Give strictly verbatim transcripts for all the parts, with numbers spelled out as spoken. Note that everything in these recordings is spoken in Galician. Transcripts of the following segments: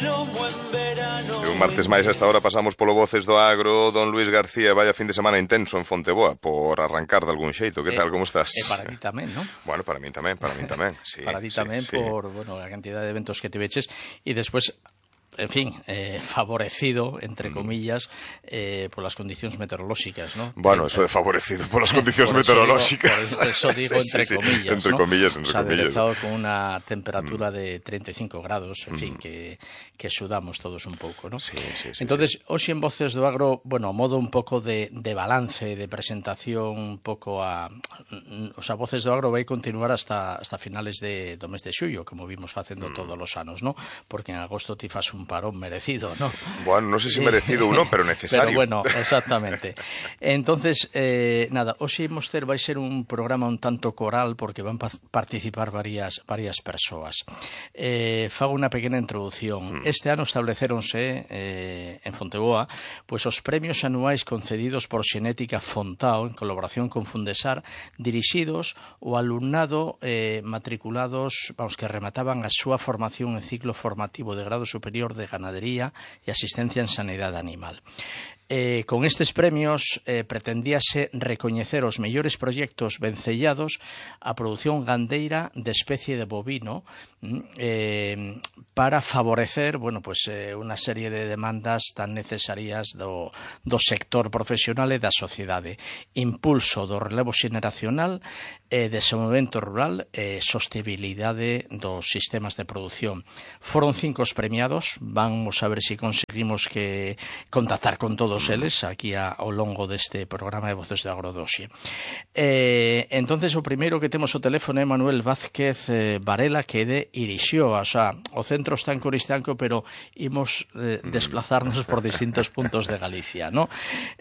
Un martes máis a esta hora pasamos polo Voces do Agro. Don Luís García, vaya fin de semana intenso en Fonteboa por arrancar de algún xeito. Que eh, tal, como estás? E para ti tamén, non? Bueno, para min tamén, para min tamén. Sí, para ti tamén sí, por, sí. bueno, a cantidad de eventos que te veches e despois, en fin, eh, favorecido, entre comillas, eh, por las condicións meteorolóxicas, ¿no? Bueno, eso de favorecido por las condicións meteorolóxicas. Por eso digo, sí, entre sí, comillas, entre ¿no? comillas, entre o sea, comillas. aderezado con una temperatura mm. de treinta y cinco grados, en mm. fin, que, que sudamos todos un pouco, ¿no? Sí, sí, sí. Entonces, sí. hoxe en Voces do Agro, bueno, a modo un pouco de, de balance, de presentación un pouco a... O sea, Voces do Agro vai continuar hasta, hasta finales de, do mes de xullo, como vimos facendo mm. todos os anos, ¿no? Porque en agosto ti fas un parón merecido, ¿no? Bueno, no sé si merecido uno, pero necesario. Pero bueno, exactamente. Entonces, eh, nada, hoxe imos ter vai ser un programa un tanto coral porque van pa participar varias varias persoas. Eh, fago unha pequena introducción. Mm. Este ano establecéronse eh, en Fonteboa pues, os premios anuais concedidos por Xenética Fontao en colaboración con Fundesar, dirixidos ao alumnado eh, matriculados, vamos, que remataban a súa formación en ciclo formativo de grado superior de ganadería e asistencia en sanidade animal. Eh, con estes premios eh, pretendíase recoñecer os mellores proxectos vencellados a produción gandeira de especie de bovino eh, para favorecer, bueno, pues, eh, unha serie de demandas tan necesarias do, do sector profesional e da sociedade. Impulso do relevo xeneracional, eh, desenvolvemento rural e sostenibilidade dos sistemas de produción. Foron cinco os premiados, vamos a ver se si conseguimos que contactar con todos eles aquí a, ao longo deste programa de Voces de Agrodoxie. Eh, entonces o primeiro que temos o teléfono é Manuel Vázquez eh, Varela, que é de Irixioa, o sea, o centro está en Coristanco, pero imos eh, desplazarnos por distintos puntos de Galicia, ¿no?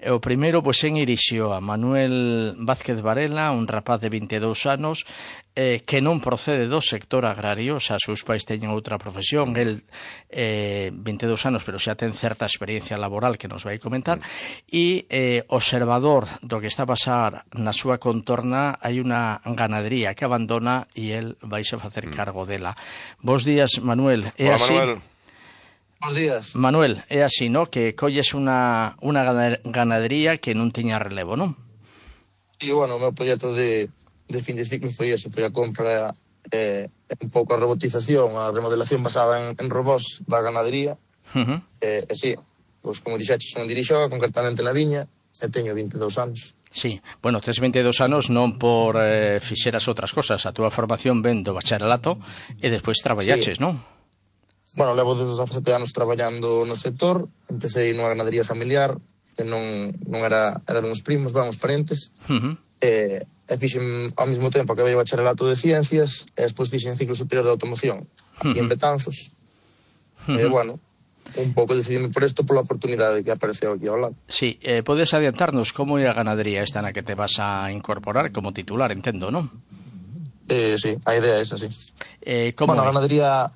O primeiro, pois, en Irixioa, Manuel Vázquez Varela, un rapaz de vinte e dous anos, eh, que non procede do sector agrario, o sea, seus pais teñen outra profesión, el eh, vinte e dous anos, pero xa ten certa experiencia laboral que nos vai comentar, e eh, observador do que está a pasar na súa contorna. Hai unha ganadería que abandona e el vais a facer cargo dela. Bos días, Manuel. É Hola, así? Manuel. Bos días. Manuel, é así, ¿no? Que colles unha, unha ganadería que non tiña relevo, non? E, bueno, o meu proxecto de, de fin de ciclo foi ese, foi a compra, eh, un pouco a robotización, a remodelación basada en, en robós da ganadería. Uh -huh. eh, e sí, pois, como dixeches, son dirixo concretamente na viña, e teño vinte e dous anos. Sí, bueno, tes vinte e dous anos non por eh, fixeras outras cosas, a túa formación ven do bacharelato e despois traballaches, sí, non? Bueno, levo dezasete anos traballando no sector, empecé nunha ganadería familiar, que non, non era, era duns primos, vamos, parentes, uh -huh. e, e fixen ao mesmo tempo que veio o bacharelato de ciencias, e despois fixen ciclo superior de automoción, uh -huh. e en Betanzos, uh -huh. e, bueno, un pouco decidime por isto pola oportunidade que apareceu aquí ao lado. Sí, eh, podes adiantarnos como é a ganadería esta na que te vas a incorporar como titular, entendo, non? Eh, sí, a idea é esa, sí. Eh, como bueno, é? a ganadería,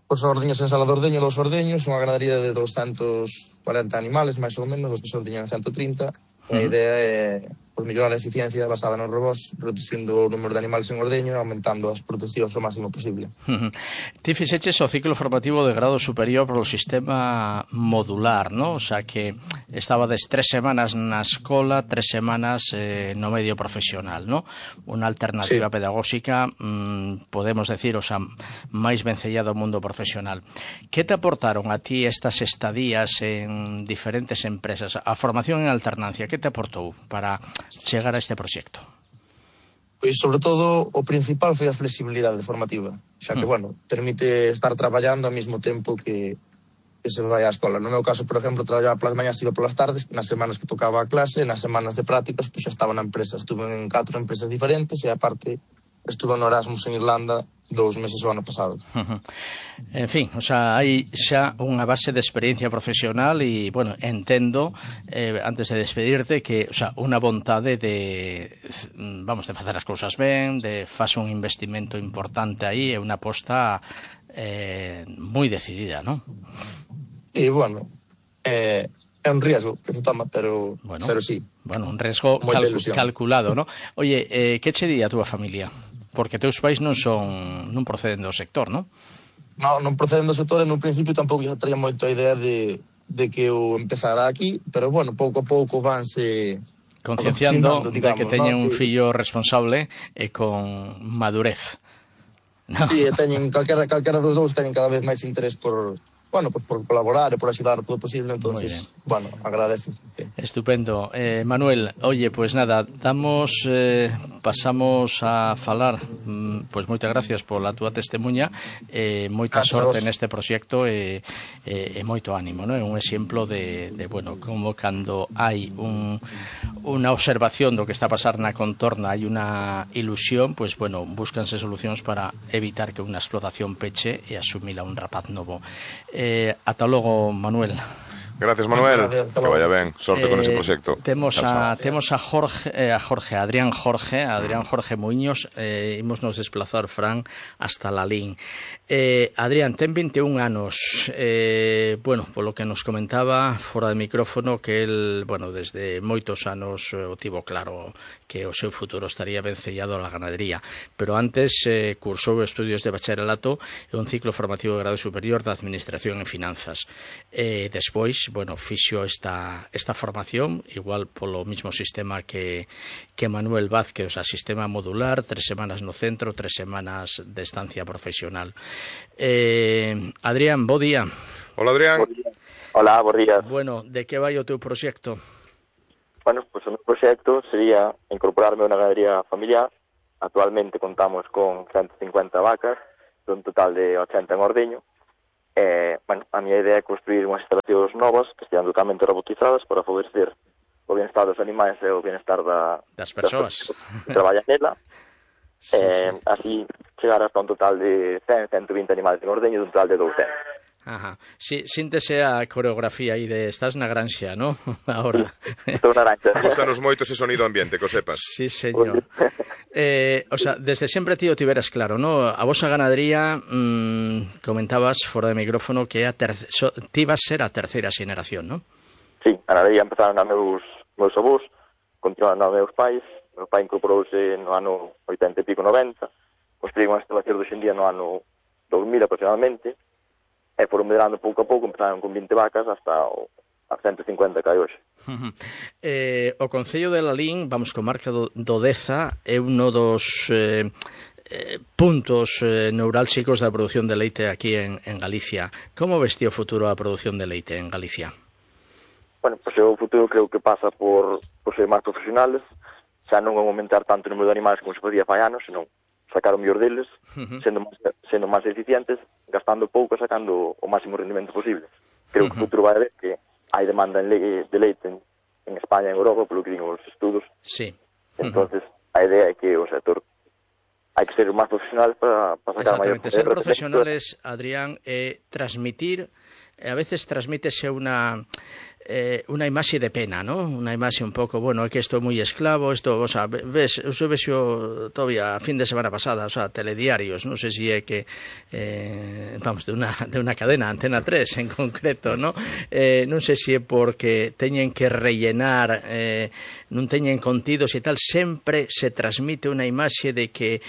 os ordeños en Sala de Ordeño, dos ordeños, unha ganadería de doscientos cuarenta animales, máis ou menos, os que se ordeñan ciento trinta, e a idea é por mellorar a eficiencia basada nos robós, reducindo o número de animales en ordeño e aumentando as producións o máximo posible. Uh -huh. Ti fixeches o ciclo formativo de grado superior polo sistema modular, ¿no? O sea que estaba des tres semanas na escola, tres semanas eh, no medio profesional, ¿no? Unha alternativa sí. pedagóxica, mmm, podemos decir, o sea, máis vencellada ao mundo profesional. Que te aportaron a ti estas estadías en diferentes empresas? A formación en alternancia, que te aportou para chegar a este proxecto? Pois, sobre todo, o principal foi a flexibilidade formativa, xa que, hmm. bueno, permite estar traballando ao mesmo tempo que, que se vai á escola. No meu caso, por exemplo, traballaba polas mañas, iba polas tardes, nas semanas que tocaba a clase, nas semanas de prácticas, pois xa estaba na empresa. Estuve en catro empresas diferentes e, aparte, estuve no Erasmus en Irlanda dous meses o ano pasado. Uh -huh. En fin, o sea, hai xa unha base de experiencia profesional e, bueno, entendo, eh, antes de despedirte, que, o sea, unha vontade de, vamos, de facer as cousas ben, de facer un investimento importante aí e unha aposta eh, moi decidida, non? E, bueno, eh, é un riesgo que se toma, pero, bueno, pero sí. Bueno, un riesgo calcu calculado, non? Oye, eh, que che di a túa familia? Porque teus pais non son non proceden do sector, non? non, non proceden do sector e no principio tampouco xa traía moito a idea de, de que eu empezara aquí, pero bueno, pouco a pouco vanse concienciando de que teñen ¿no? un Sí, fillo responsable e con madurez. No. Sí, teñen, calquera, calquera dos dous teñen cada vez máis interés por, bueno, pues por colaborar e por axudar todo posible, entonces, bueno, agradece. Estupendo. Eh, Manuel, oye, pues nada, damos, eh, pasamos a falar, pues moitas gracias pola túa testemunha, eh, moita gracias sorte neste proxecto e, e, e moito ánimo, ¿no? É un exemplo de, de, bueno, como cando hai un, unha observación do que está a pasar na contorna, hai unha ilusión, pues bueno, búscanse solucións para evitar que unha explotación peche e asumila un rapaz novo. Eh, ata logo, Manuel. Gracias, Manuel. Gracias, que vaya ben. Sorte eh, con ese proxecto. Temos a temos a Jorge, eh, a Jorge, a Adrián Jorge, a Adrián Jorge Muiños, eh, imos nos desplazar, Fran, hasta Lalín. Eh, Adrián, ten vinte e un anos. Eh, bueno, polo que nos comentaba fora de micrófono que el, bueno, desde moitos anos eh, o tivo claro que o seu futuro estaría vencellado á ganadería, pero antes eh, cursou estudios de bacharelato e un ciclo formativo de grado superior de Administración e Finanzas. Eh, despois, bueno, fixo esta, esta formación, igual polo mismo sistema que, que Manuel Vázquez, o sea, sistema modular, tres semanas no centro, tres semanas de estancia profesional. Eh, Adrián, bo día. Hola, Adrián. Hola, bo día. Bueno, de que vai o teu proxecto? Bueno, pues o meu proxecto sería incorporarme a unha ganadería familiar. Actualmente contamos con ciento cincuenta vacas, dun total de ochenta en ordeño. Eh, bueno, a miña idea é construir unhas instalacións novas que estean totalmente robotizadas para favorecer o bienestar dos animais e o bienestar da, das persoas que traballan nela. Sí, eh, sí. Así chegar hasta un total de cen, ciento vinte animais en ordeño dun total de douscentos. Ajá. Sí, síntese a coreografía aí de estás na granxa, ¿no? Ahora. Estou na granxa. Gustanos moito ese sonido ambiente, que o sepas. Sí, señor. Eh, o sea, desde sempre ti o tiveras claro, ¿no? A vosa ganadería, mmm, comentabas fora de micrófono que a terce... so, ti vas ser a terceira xeneración, ¿no? Sí, a ganadería empezaron a meus, meus avós, continuaron a meus pais. Meu pai incorporouse no ano oitenta e pico, noventa, construí unha instalación hoxe en día no ano dos mil aproximadamente, e foron medrando pouco a pouco, empezaron con vinte vacas hasta o, a ciento cincuenta que hai hoxe. Uh -huh. eh, o Concello de Lalín, vamos, comarca do, do Deza, é uno dos eh, eh, puntos eh, neurálxicos da produción de leite aquí en, en Galicia. Como ves ti o futuro da produción de leite en Galicia? Bueno, pois o futuro creo que pasa por, por ser máis profesionales, xa non aumentar tanto o número de animais como se podía fai anos, senón sacar o mellor deles, uh-huh. sendo, máis, sendo máis eficientes, gastando pouco e sacando o máximo rendimento posible. Creo uh-huh. que o futuro vai a ver que hai demanda en le de leite en, en España e en Europa, polo que din os estudos. Sí. Entonces, uh-huh. a idea é que o sector hai que ser máis profesional para, para sacar maior... Exactamente, ser profesionales, Adrián, eh, transmitir, eh, a veces transmítese unha... Eh, unha imaxe de pena, ¿no? Unha imaxe un pouco, bueno, é que estou moi esclavo, isto, o sea, ves, eu vexo todavía a fin de semana pasada, o sea, telediarios, non sei se é que eh, vamos, de unha, de unha cadena, Antena tres en concreto, ¿no? Eh, non sei se é porque teñen que rellenar, eh, non teñen contidos e tal, sempre se transmite unha imaxe de que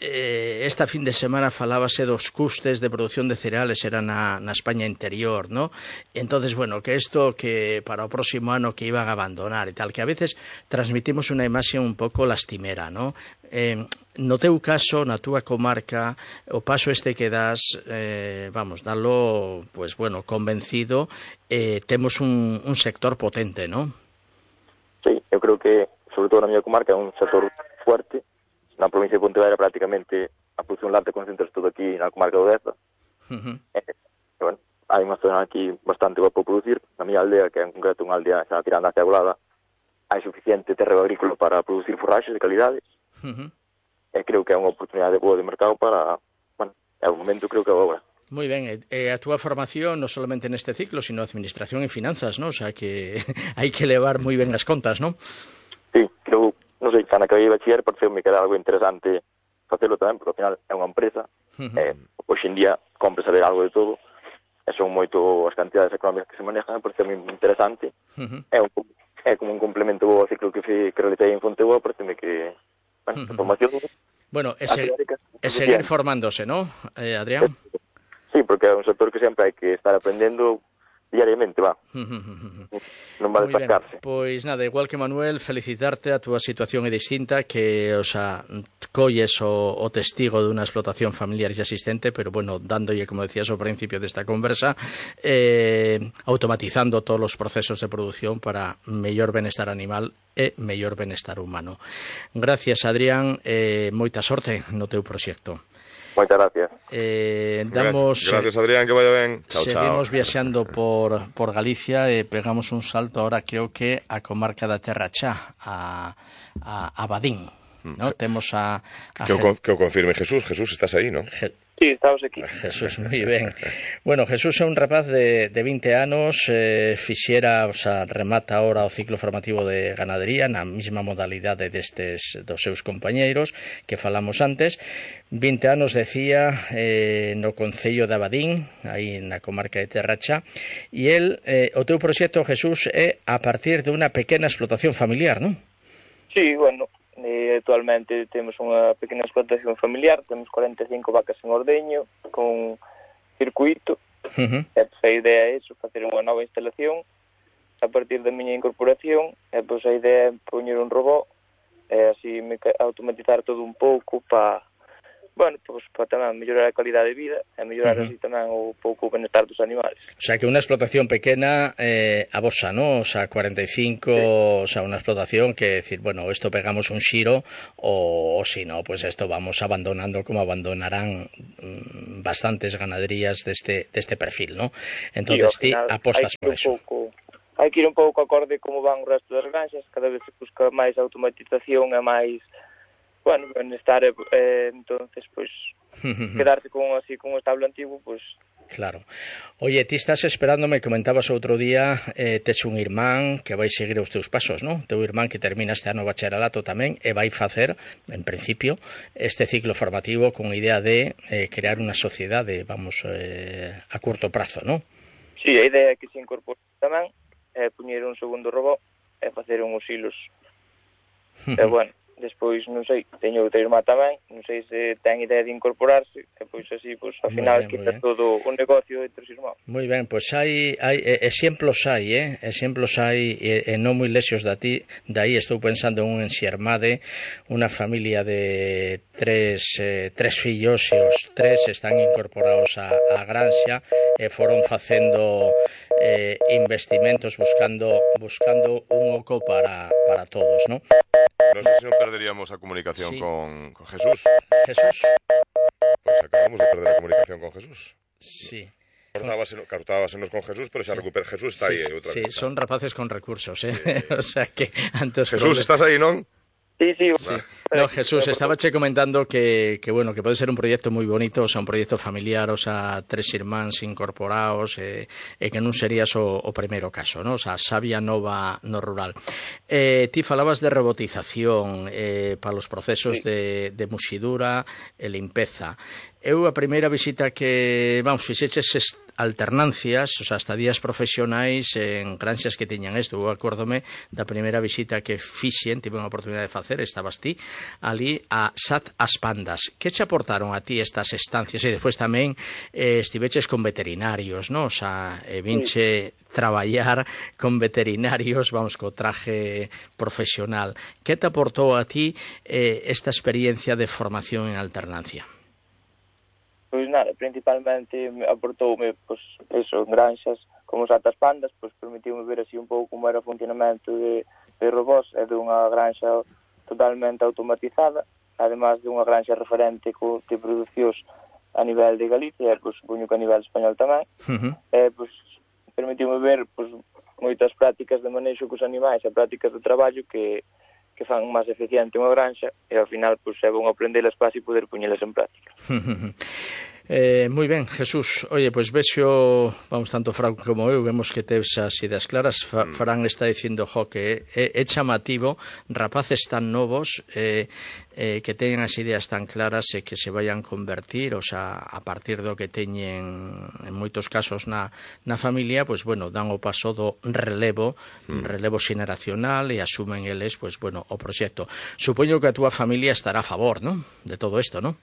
Eh, esta fin de semana falábase dos custes de producción de cereales era na, na España interior, ¿no? Entonces, bueno, que isto que para o próximo ano que iban a abandonar e tal, que a veces transmitimos unha imaxe un pouco lastimera, ¿no? Eh, no teu caso, na túa comarca, o paso este que das, eh, vamos, dalo, pues bueno, convencido, eh, temos un, un sector potente, ¿no? Sí, eu creo que, sobre todo na miña comarca, é un sector fuerte. Na provincia de Pontevedra prácticamente a produción láctea concentra todo aquí na comarca do Deza. Uh-huh. E, bueno, hai unha zona aquí bastante boa para producir. Na miña aldea, que é en concreto unha aldea xa tirando hacia Agulada, hai suficiente terreo agrícola para producir forraxes de calidade. Uh-huh. E creo que é unha oportunidade boa de mercado para, bueno, é o momento, creo que é agora. Moi ben, e a túa formación non solamente neste ciclo, sino administración e finanzas, non? O sea que hai que levar moi ben as contas, non? Sí, creo... Non sei, cando acabei de bachiller, pareceu-me que era algo interesante facelo tamén, porque ao final é unha empresa, uh-huh. eh, hoxe en día compre saber algo de todo, e son moito as cantidades económicas que se manejan, pareceu-me interesante, uh-huh. é, un, é como un complemento ao ciclo que, fui, que realizei en Fonteboa, pareceu-me que, bueno, uh-huh. a formación... Bueno, e, se, e seguir formándose, ¿no, eh, Adrián? que é un sector que sempre hai que estar aprendendo diariamente, va. Non va a destacarse. Pois nada, igual que Manuel, felicitarte, a túa situación é distinta, que, o sea, colles o, o testigo de unha explotación familiar xa existente, pero bueno, dándolle, como decías ao principio desta conversa, eh, automatizando todos os procesos de produción para mellor benestar animal e mellor benestar humano. Gracias, Adrián, eh, moita sorte no teu proxecto. Moitas gracias. Eh, damos, gracias, Adrián, que vaya ben. Chao, seguimos chao. viaxando por, por Galicia e pegamos un salto ahora, creo que a comarca da Terra Chá, a, a, a Badín, ¿no? Temos a... a que, o, que o confirme Jesús. Jesús, estás aí, ¿no? Je Sí, estamos aquí. Jesús, moi ben. Bueno, Jesús é un rapaz de, de vinte anos, eh, fixera, o sea, remata ahora o ciclo formativo de ganadería na mesma modalidade destes dos seus compañeiros que falamos antes. vinte anos, decía, eh, no Concello de Abadín, aí na comarca de Terra Chá, e el, eh, o teu proxecto, Jesús, é a partir de unha pequena explotación familiar, non? Sí, bueno, eh, actualmente temos unha pequena explotación familiar, temos cuarenta e cinco vacas en ordeño, con circuito, Uh-huh. e pois, a idea é iso, facer unha nova instalación a partir da miña incorporación, e pois a idea é poñer un robot e así automatizar todo un pouco para, bueno, pois para tamén mellorar a calidad de vida e mellorar uh-huh. así tamén o pouco o benestar dos animales. O sea, que unha explotación pequena eh, a vosa, ¿no? O sea, cuarenta y cinco, sí. O sea, unha explotación que decir, bueno, esto pegamos un xiro o, o si no, pues esto vamos abandonando como abandonarán mm, bastantes ganaderías deste, deste perfil, ¿no? Entonces, ti apostas por eso. Pouco, hai que ir un pouco acorde como van o resto das granxas, cada vez se busca máis automatización e máis, bueno, benestar, eh, entonces, pois, pues, quedarse con así con o establo antigo, pois... Pues, claro. Oye, ti estás esperando, me comentabas outro día, eh, tes un irmán que vai seguir os teus pasos, non? Teu irmán que termina este ano bacharelato tamén e vai facer, en principio, este ciclo formativo con idea de eh, crear unha sociedade, vamos, eh, a curto prazo, non? Sí, a idea é que se incorpore tamén, é eh, poñer un segundo robot e facer uns hilos. E, bueno, despois, non sei, teño outra irmá tamén, non sei se ten idea de incorporarse, e pois así, pois, ao final, quita todo o negocio entre os irmáns. Moi ben, pois hai, hai exemplos hai, eh? exemplos hai, e, e non moi lexos da ti, dai estou pensando en un enxermade, unha familia de tres, eh, tres fillos, e os tres están incorporados a, a granxa, e foron facendo eh, investimentos, buscando buscando un oco para, para todos, ¿no? No sé si no perderíamos la comunicación sí. con, con Jesús. Jesús. Pues acabamos de perder la comunicación con Jesús. Sí. Cortábasenos con Jesús, pero se sí. recupera Jesús, está sí, aí. Outra sí, cosa. Son rapaces con recursos, ¿eh? Sí. O sea que antes... Jesús, estás aí, non? Sí, sí. sí. No, Jesús, estaba che comentando que, que, bueno, que pode ser un proyecto moi bonito, o sea, un proyecto familiar, o sea, tres irmáns incorporados, e, e que non serías o, o primeiro caso, ¿no? O sea, sabia nova no rural. Eh, ti falabas de robotización eh, para os procesos sí. de, de muxidura e limpeza. Eu a primeira visita que, vamos, fixeches alternancias, o sea, estadías profesionais en granxas que tiñan isto. Eu acórdome da primeira visita que fixen, tive unha oportunidade de facer, estabas ti, ali a S A T As Pandas. Que che aportaron a ti estas estancias? E despois tamén eh, estiveches con veterinarios, non? O sea, eh, vinche sí. traballar con veterinarios, vamos, co traje profesional. Que te aportou a ti eh, esta experiencia de formación en alternancia? Pois nada, principalmente aportoume, pois, eso, en granxas como os Atas Pandas, pois permitiume ver así un pouco como era o funcionamento de, de robots e dunha granxa totalmente automatizada, además de unha granxa referente co, de producións a nivel de Galicia, e pois supoño que a nivel español tamén, uh-huh. e pois permitiume ver pois moitas prácticas de manexo cos animais e prácticas de traballo que que fan máis eficiente unha granxa e ao final pois é bon aprendelas para así poder poñelas en práctica. Eh, moi ben, Jesús. Oye, pois pues vexo, vamos, tanto Fran como eu, vemos que tes as ideas claras. Fa, Fran está dicindo, jo, que é, é chamativo, rapaces tan novos eh, eh, que teñen as ideas tan claras e que se vayan convertir, o sea, a partir do que teñen en moitos casos na, na familia, pois, pues, bueno, dan o paso do relevo, mm. relevo xeneracional e asumen eles, pois, pues, bueno, o proxecto. Supoño que a túa familia estará a favor, non? De todo isto, non?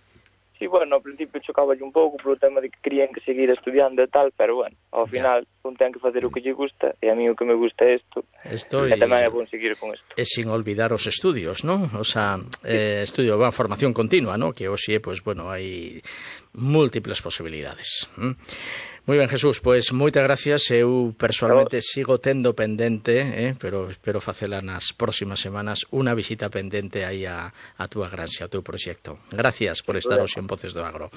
Sí, bueno, ao principio chocaba un pouco polo tema de que querían que seguir estudiando e tal, pero bueno, ao final un ten que facer o que lle gusta, e a mí o que me gusta é isto, Esto e tamén é bon seguir con isto. E sin olvidar os estudios, ¿no? O sea, eh, estudio, bueno, formación continua, ¿no? Que hoxe, pues, bueno, hai múltiples posibilidades. ¿Mm? Moi ben, Jesús, pois moitas gracias. Eu personalmente sigo tendo pendente, eh, pero espero facela nas próximas semanas, unha visita pendente aí a, a túa granxa, ao teu proxecto. Gracias por estar hoxe en Voces do Agro.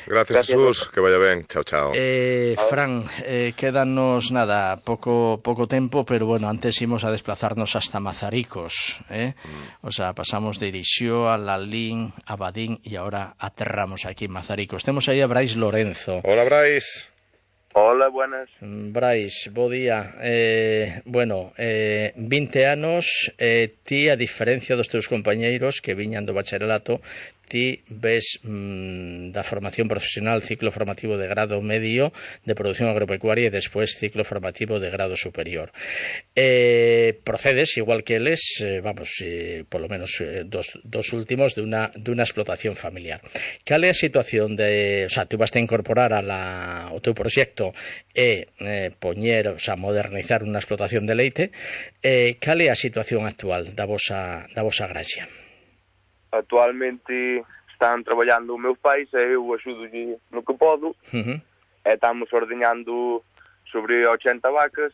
Gracias, Gracias Jesús, que vaya ben. Chao, chao. Eh, Fran, eh, quédanos nada, pouco pouco tempo, pero bueno, antes imos a desplazarnos hasta Mazaricos, eh? Mm. O sea, pasamos de Irixó a Lalín, a Badín e agora aterramos aquí en Mazaricos. Temos aí a Brais Lorenzo. Hola, Brais. Hola, buenas. Brais, bo día. Eh, bueno, eh, vinte anos, eh, ti, a diferencia dos teus compañeiros que viñan do bacharelato, ti ves mmm, da formación profesional ciclo formativo de grado medio de producción agropecuaria e despois ciclo formativo de grado superior. Eh, procedes, igual que eles, eh, vamos, eh, polo menos eh, dos, dos últimos, de una, de una explotación familiar. Cal é a situación de... O sea, tú vas a incorporar a la, o teu proxecto e eh, poñer, o sea, modernizar unha explotación de leite. Eh, cal é a situación actual da vosa, da vosa graxa? Actualmente están traballando meus pais e eu axudo no que podo. Uh-huh. E estamos ordeñando sobre ochenta vacas,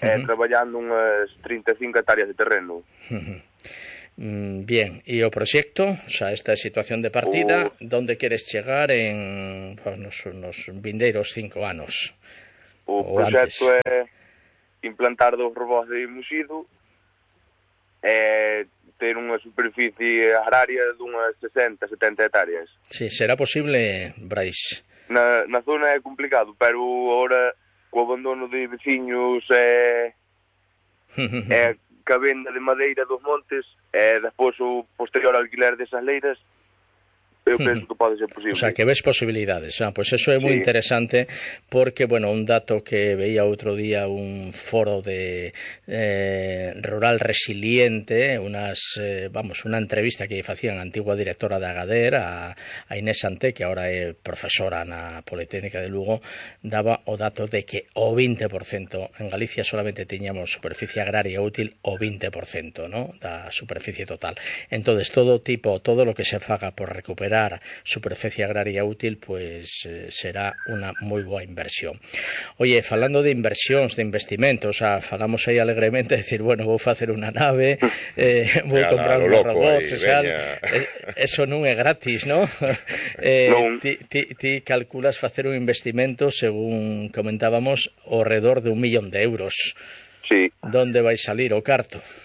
uh-huh, e traballando unhas trinta e cinco hectáreas de terreno. Uh-huh. Mm, bien, e o proxecto, o sea, esta é a situación de partida, o... donde queres chegar en pues, nos, nos vindeiros cinco anos? O proxecto é implantar dos robots de Muxido e ter unha superficie agraria dunhas sesenta, setenta hectáreas. Sí, será posible, Brais? Na, na zona é complicado, pero agora co abandono de veciños e, e ca venda de madeira dos montes e despois o posterior alquiler desas leiras, eu penso que pode ser posible. O sea, que ves posibilidades. Ah, pues eso é moi sí. interesante porque, bueno, un dato que veía outro día un foro de eh, rural resiliente, unas, eh, vamos, unha entrevista que facían a antigua directora de Agader, a, a Inés Santé, que agora é profesora na Politécnica de Lugo, daba o dato de que o vinte por cento, en Galicia solamente teñamos superficie agraria útil o vinte por cento, ¿no?, da superficie total. Entonces, todo tipo, todo lo que se faga por recuperar superficie agraria útil, pues eh, será unha moi boa inversión. Oye, falando de inversións, de investimentos, o sea, falamos aí alegremente, decir, bueno, vou facer unha nave, eh, vou ya, comprar uns robots, aí, o sea, eh, eso non é gratis, ¿no? eh, non. Ti, ti, ti calculas facer un investimento, según comentábamos, ao redor de un millón de euros. Sí. Donde vai salir o carto?